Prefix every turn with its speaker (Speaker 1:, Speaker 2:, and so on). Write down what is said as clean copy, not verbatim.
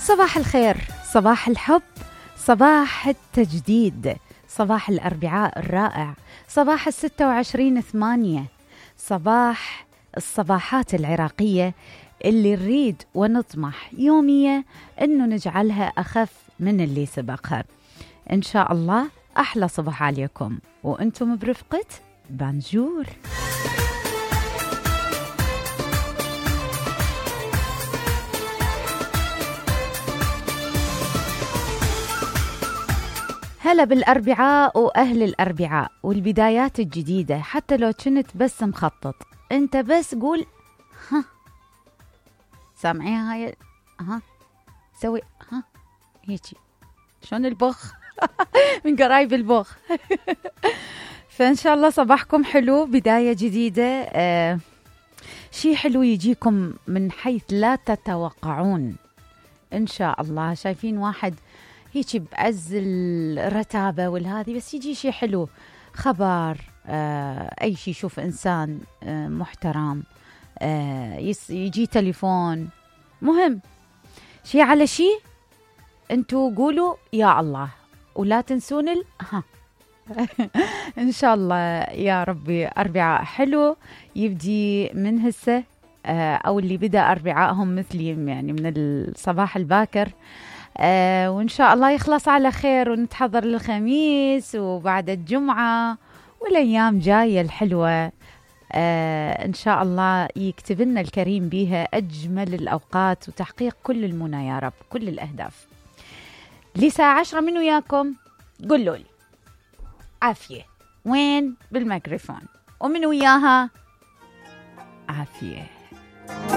Speaker 1: صباح الخير، صباح الحب، صباح التجديد، صباح الأربعاء الرائع، صباح 26/8، صباح الصباحات العراقية اللي نريد ونطمح يوميا أنه نجعلها أخف من اللي سبقها. إن شاء الله أحلى صباح عليكم وأنتم برفقة بانجور. هلا بالأربعاء وأهل الأربعاء والبدايات الجديدة. حتى لو كنت بس مخطط، أنت بس قول ها، سامعين هاي؟ ها سوي ها هيجي شلون البخ من قرايب البخ. فإن شاء الله صباحكم حلو، بداية جديدة، شي حلو يجيكم من حيث لا تتوقعون. إن شاء الله شايفين واحد هيك بعز الرتابة والهذي، بس يجي شيء حلو، خبر، أي شيء، يشوف إنسان محترم، يجي تليفون مهم، شيء على شيء، أنتوا قولوا يا الله ولا تنسون ها. إن شاء الله يا ربي أربعاء حلو يبدي من هسه، أو اللي بدأ أربعائهم مثلي يعني من الصباح الباكر، وإن شاء الله يخلص على خير ونتحضر للخميس وبعد الجمعة والأيام جاية الحلوة. إن شاء الله يكتب لنا الكريم بها أجمل الأوقات وتحقيق كل المنى يا رب، كل الأهداف. لساعة 10 من وياكم، قولوا لي عافية وين بالميكروفون، ومن وياها عافية.